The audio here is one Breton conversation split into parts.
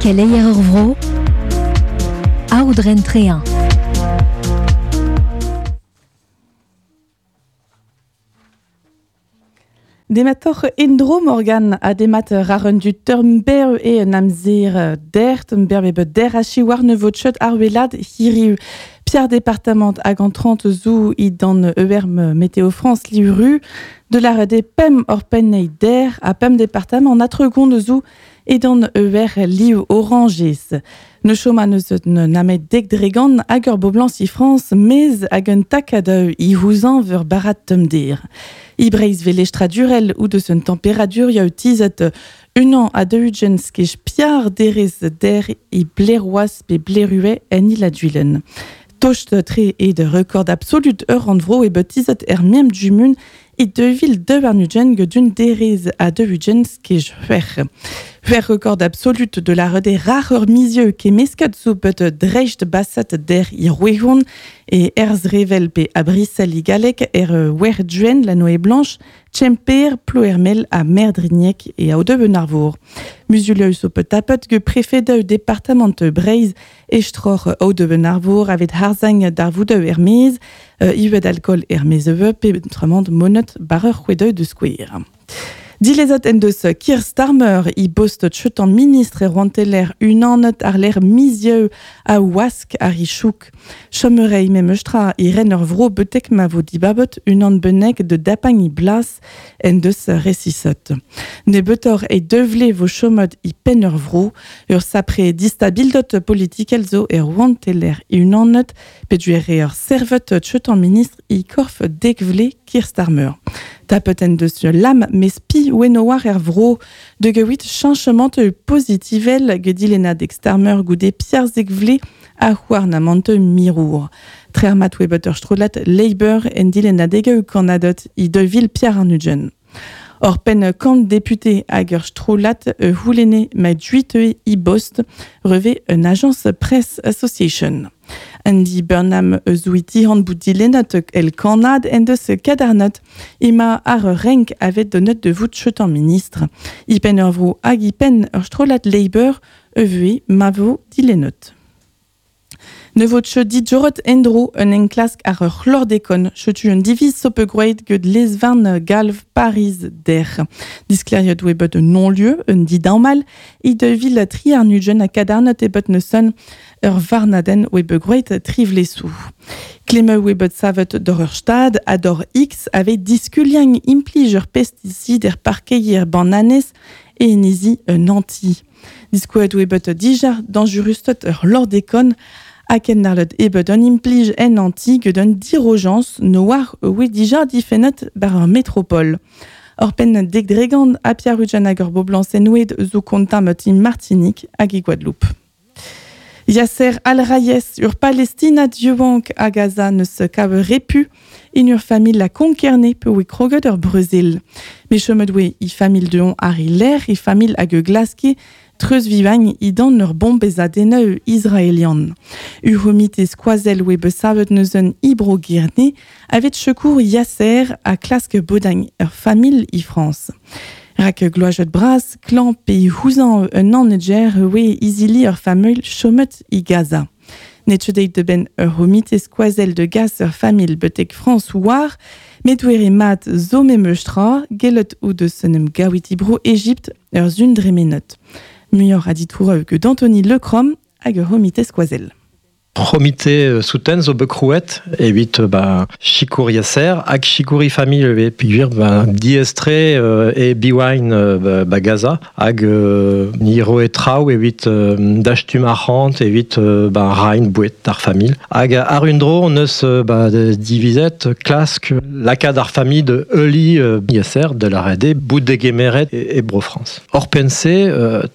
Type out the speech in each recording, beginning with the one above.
Keleier ur vro, Aodren Trehin. Dematoc'h endro Morgan ha demat rar un dud ur e un amzer dert, un berv bet der achi war ne vot chot ar welad hiriv. Pierre département hag an 30 zo i dan ERM Météo France liuru de la de pem or pen der a pem département atregond zo e dan ER liu orangez. Ne choma neus namet dek dregan hag ur boblañs i France mez hag un takad i houzan veur barat tumdir. I breiz velestradurel ou deus un temperadur ya tizet un an a deux skej piar derez der i bleroaz pe blerue en il a. Tocht tre e de record absolut ur an vro e betizet er miem jumun e devil de arnugen gedun derez a deux skej c'hwec'h. C'hwec'h record absolut de la rede rar ur mizieu ke meskat zo bet drecht basat der i rouehon e erz revel pe a Brissel i galek er wer duen la Noé Blanche, Tchemper, Ploermel a Merdrignac e a Odeu Arvour. Musuleu zo pet tapet ge préfet de département Breiz estror Odeu Arvour avet harzang d'ar voudeu er mez, iwet alcool er mez pe tramant monet barreur c'hwedeu de square. Dilezot en deus Keir Starmer i bost chetan ministre e roanteler unanet ar l'air mizieu a wask ar i chouk. Chomerei memestra i ren ur vro betek ma vo dibabet unan benek de dapang i blas en deus resisot. Ne betor e devle vo chomod i pen ur vro, ur sapre distabildot politikel zo e roanteler unanet peduere ur servet chetan ministre i korf dekvle Keir Starmer. Tapet en deus lam mes pi wenoar er vro de gewit changement positivel gedilena dek Starmer goude Pierre Zegvle a c'houarnamant mirour. Trermat webet ur strolat Labour en dilena dege kanadot i de vil Pierre Arnugen. Or pen kant député hag ur strolat houlene ma duite i bost reve un agence Press Association. Andy Burnham eus han bout dilenat el kanad en deus kadarnot ima ar renk avet donut de vout chetan ministre. I pen ur vro hag i pen ur strolat Labour euvue mavo dilenot. Ne vot che dit jorot endro un enklask ar ur chlordekon chetu un diviz sope groet ged lesvarn galv Paris der. Diskleriot oe bet un non-lieu, un dit mal, i de vil tri ar nugen a kadarnot e bet neus ur varnaden oe bet groet trivlesou. Klemme oe bet savet d'or ur stad a d'or X ave diskuliang implij ur pesticid er parkeier bananez e enizi un anti. Diskouet oe bet dija danjurustot ur lordekon Aken narlet ebet un implij en anti ged un dirojans noar oe dija difennet bar ur métropole. Ur pen dek dregant a Pierre Rujan hag ur boblañs enoued zo kontamet i Martinique hag i Guadeloupe. Yasser Al-Rayes ur Palestinat dieuank a Gaza neus kav repu in ur famil la konkerne pe oe kroget ur Brezil. Me chomet oe i famil deon ar i l'air i famil hag e glaske treuz vivagn i dan ur bombez a deneu israelian. Ur homite skoazel oe besavet neus un ibro girne avet secours Yasser a klask bodagn ur famil i France. Rak gloajet bras, klan pe houzan un an oe izili ur famil chomet i Gaza. Netchedeit de ben ur homite skoazel de gas ur famil betek France war, met oere mat zo memeustra, gellet ou de senem gawit ibro Egypte ur zun dremenot. Muioc'h a ditoureu que d'Anthony Lecrom hag ur homite skoazel. C'homite souten zo bet krouet evit ba chikour Yasser hag chikour i famil e pigwir ba diestre e biwain ba, ba Gaza hag ni roe traoù evit dachtum arc'hant evit ba rain bouet d'ar famil. Hag ar un dro on eus ba divizet klask lakad ar famil de Euli Yasser de la RD bout de gemeret e, e Bro France. Or pense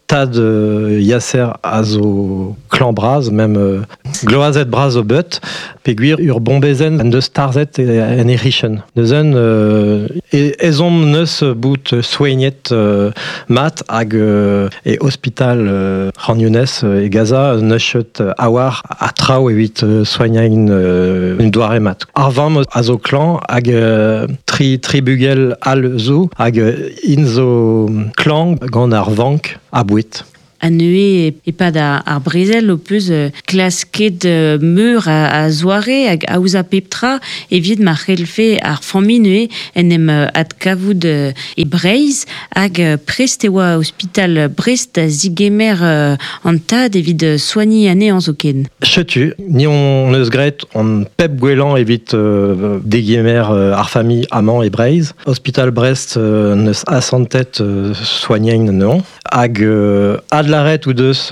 tad Yasser a zo klan braz même gloazet braz o bet, pegwir ur bombezen an deus tarzet en erichen. Neuzen e, ezom neus bout soignet mat hag e hospital Khan Younes e Gaza neus awar a traoù evit soignain un doare mat. Ar vamm a zo klan hag tri bugel al zo hag in zo klan gant ar vank a bouet. A neue epad ar brezel o peus klasket meur a zoare hag aoza pep tra evit ma c'hellfe ar familh neue en em adkavout e Breizh hag prest e oa ospital Brest da zigemer an tad evit soigni anezhañ zoken. Setu, ni on eus graet on pep gwellañ evit degemer ar familh amañ e Breizh. Ospital Brest neus asantet soignañ anezhañ. Hag adlaret ou deus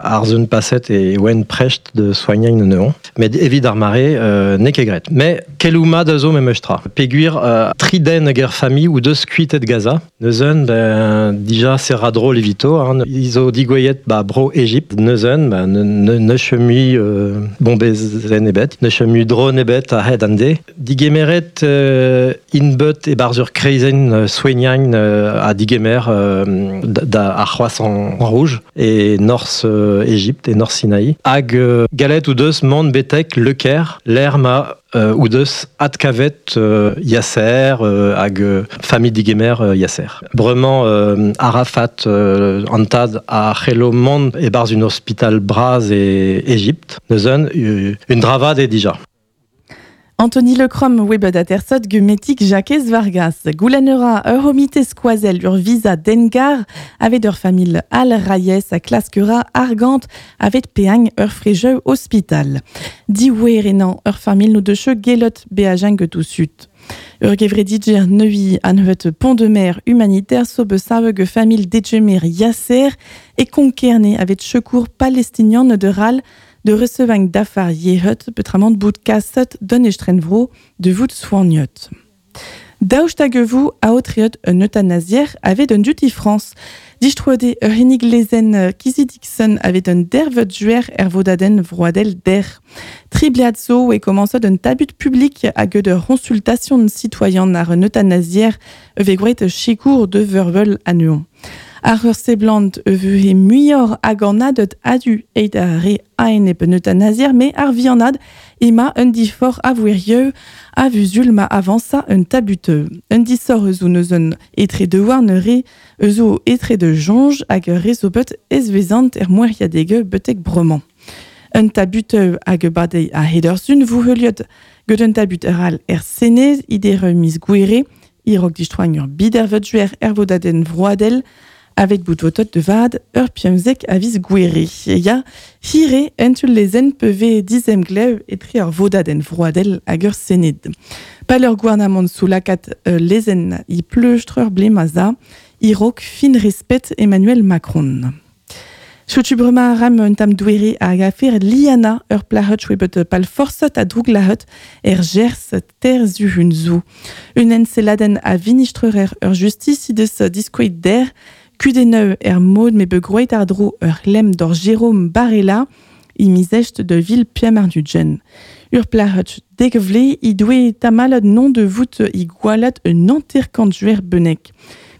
ar zun paset e oen prest de soignañ anezhañ. Met evit ar mare n'eo ket graet. Met keloù mat a zo memes tra. Peogwir tri den hag er familh ou deus kuitet Gaza. Neuzen, ben, dija se ra drol evito. Hein. I zo digouezhet ba bro Egipt. Neuzen, ben, ne neus mui bombezenn ebet, neus mui drone ebet a-hed an de. Digemeret int bet e-barzh ur kreizenn soignañ ha digemer da ar C'hroashent Rouge e norzh Egipt, e norzh Sinaï. Hag gallet o deus mont betek Le Caire, lec'h ma o deus adkavet Yasser hag familh digemer Yasser. Bremañ Arafat an tad a c'hello mont e-barzh un ospital bras e Egipt. Neuzen, un dra vat eo dija. Anthony Lecrom webet atersot gemetik Jakez Vargas. Goulenn ura ur c'homite skoazell ur visa dengar avet ur familh Al Rayes a klask ura argant avet peagn ur frejeu hospital. Diouer enañ ur familh no deus gelot beajañ get sud. Ur gevredidjer neui anvet Pont de Mer humanitaire so besav ge familh degemer Yasser e Konkerne avet secours palestinian de ral de recevang dafar yehut petramant bout kaset d'un estrenvro de vout soignot. Daoust hag vous aotriot un euthanasier avet un duty France. Distroade ur hinig lezen Kizi Dixon avet un dervet juer er vodaden vroadel der. Tribliad zo e commençot un tabut public hag de consultation citoyen ar un euthanasier eve groet sikour de vervel anuon. Ar ur seblant e he muioc'h hag an adet adu eit ar re aenep un euthanasier, me ar vianad ema un difor a vouerieu a vuzul ma avansa un tabuteu. Un disor eus eus un etre de war ne re eus o etre de jonge hag ur re zo bet ezvezant er moeriadege betek bremañ. Un tabuteu hag badei a hedersun vou heuliot get un tabut eral er senez idere mis gouere, irok distroagn ur bidervet juer er vodaden vroadel, avec bout votot de vad ur piemzek a viz gouere. Ya, hire entul lezen peve dizem glev etre ur vodaden vroadel hag ur sened. Pal ur gouarnamant sous lakat lezen i pleustreur blemaza, irok fin respet Emmanuel Macron. Setu bremañ ram un tam douere hag afer Liana ur plahut chwebet pal forsot a droug lahut er gers ter zuhun zo. Un enseladen a vinistrerer ur justice deus diskoet der kudeneu er mod me begroet ar dro ur lem d'or Jérôme Barella i mizest de ville Piamarnudjen. Ur plahut degvle i doue tamalad non de vout i gwalat un anterkant juer benek.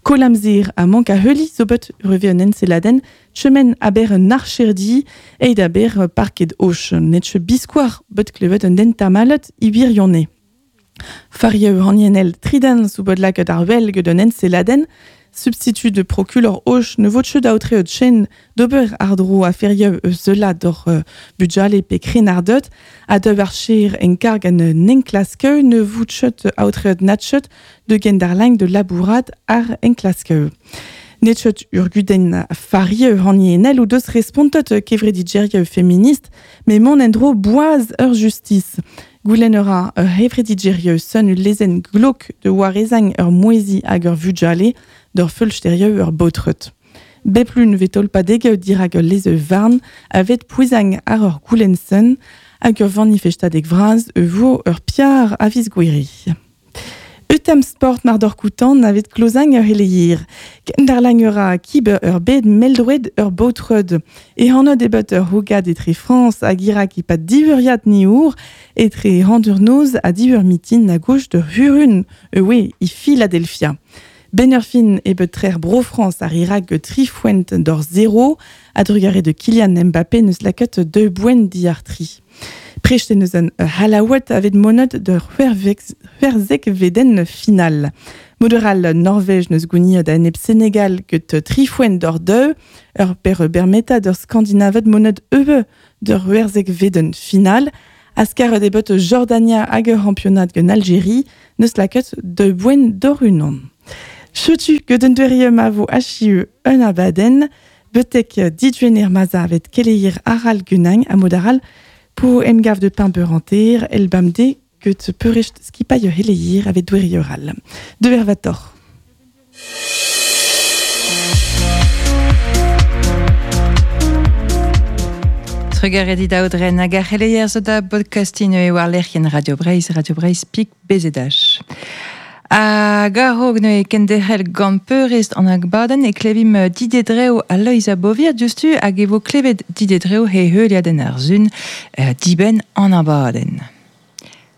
Kolamzer a mank a heuli zo bet reve un enseladen chemen aber un archerdi eid aber parket och netche biskoar bet klevet un den tamalet i birionne. Farieu hanienel triden zo bet laket ar wel get un enseladen substitut de procureur och ne vot da aotre chen d'ober ar dro a ferieu eus zela d'or budjale pe krenardot a deub ar cher en karg an enklaskeu ne vout chet aotre natchet de gendarlang de labourat ar enklaskeu. Netchet ur guden farieu hanienel ou deus respontot kevredidjerieu féministe, mais mon endro boaz ur justice. Goulenn ur hevredidjerieu son ul lezen glok de warezang ur mouezi hag ur vudjale d'ur feulsterieu ur baotrut. Beplun vetol padeg dirag ur leze varn avet pouezang ar ur goulenn hag ur vanifestadeg vraz e vo ur piar a viz gwiri. Eutam sport mar d'ur koutan avet klozang ur heleir. Kendarlang ur a kib ur bed meldroed ur baotrud. E hanod ebet ur hogad etre France hag Irak e pad divuriad ni our etre handur noz a divur mitin a gauche de Hurun, ewe i Philadelphia. Ben ur fin ebet trer Bro-France ar Irak trifuent d'or zéro, a drugare de Kylian Mbappé neus laket deux buen diar tri. Prest en eus an halaouet avet monod de c'hwerzek veden final. Moderal Norvège neus gouniet da enep Senegal get trifouen d'or deu, ur per bermeta d'ur Skandinavet monod eue d'ur c'hwerzek veden final. Askar debot Jordania hag ur championat gen Algérie neus laket de boen d'or unan. Chetu get un dueriem a vo achiu un abaden, betek didjuener maza avet keleir aral gunang a modaral pour emgav de pain beuranter, el bamde get peurest skipaille heleir avet duerioral. De vervator. Trugarez aodren hag ar c'heleier zo da podcastin e war lec'hien Radio Breizh, Radio Breizh pik BZH. Hag a-raok neuze kenderc'hel gant peurrest an agbadenn e klevim Didier Dreo ha Loeiza Bovier diouzhtu hag e vo klevet Didier Dreo he heuliadenn ar sun dibenn an abadenn.